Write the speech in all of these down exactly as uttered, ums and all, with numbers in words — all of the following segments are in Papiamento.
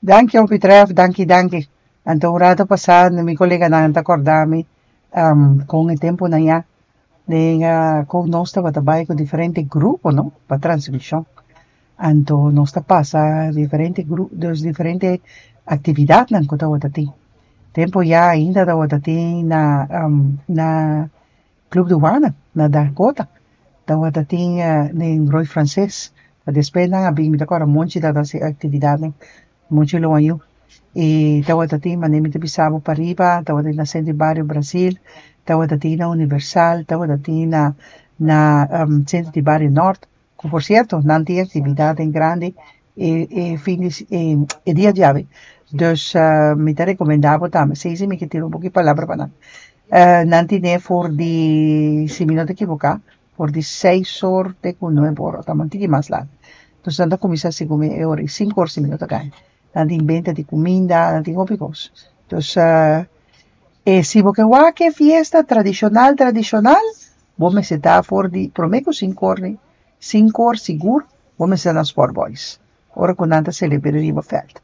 Danki, hopi trèf, danki, danki. Anto un ratu pasá mi koleganan ta kòrda mi um, kon e tempunan ya den uh, kon nos tabata bai ku diferente grupo, no? Pa transmishon. Anto nos ta pasa diferente grupo, dus diferente aktividatnan ku tabata tin. Tempu ya ainda tabata tin na um, na Club Duana, na Dakota. Tabata tin uh, den Rooi Frances. Despues nan a bin, mi ta kòrda Monchi tabata hasi aktividatnan, Monchi Loañu. I tabata tin, manera mi ta bisa bo pariba, tabata tin na Centro di Bario Brasil, tabata tin na Universal, tabata tin na na um, Centro di Bario Nort. Ku por sierto, nan tin aktividat grandi e, e fin di, e, e dia djawe. Dus uh, mi ta rekomendá bo tambe. Sí, sí, mi ke tira un poko palabra pa nan. Uh, nan tin for di, si mi no ta ekivoká, for di seis or te ku nuebe or, ta un tiki mas lat. Dus nan ta kuminsá segun e ora, sinku or si mi no ta gaña. Nan tin benta di kuminda, nan tin hopi kos. Dus uh, e si bo ke wak e fiesta tradishonal, tradishonal, bo mester ta for di promé ku sinku or, sinku or sigur, bo mester na Sport Boys. Ora ku nan ta selebrá riba veld.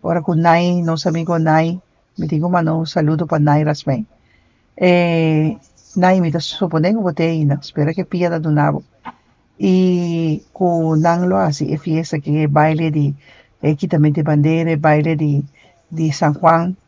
Ora ku Nai, nos amigu Nai, mi tin ku manda un saludo pa Nai Rasmijn. Eh, Nai, mi ta suponé ku bo t'ei ainda, spera ku pia ta duna bo. I ku nan lo hasi e fiesta ku e baile di e kitamentu di bandera, baile di di San Juan.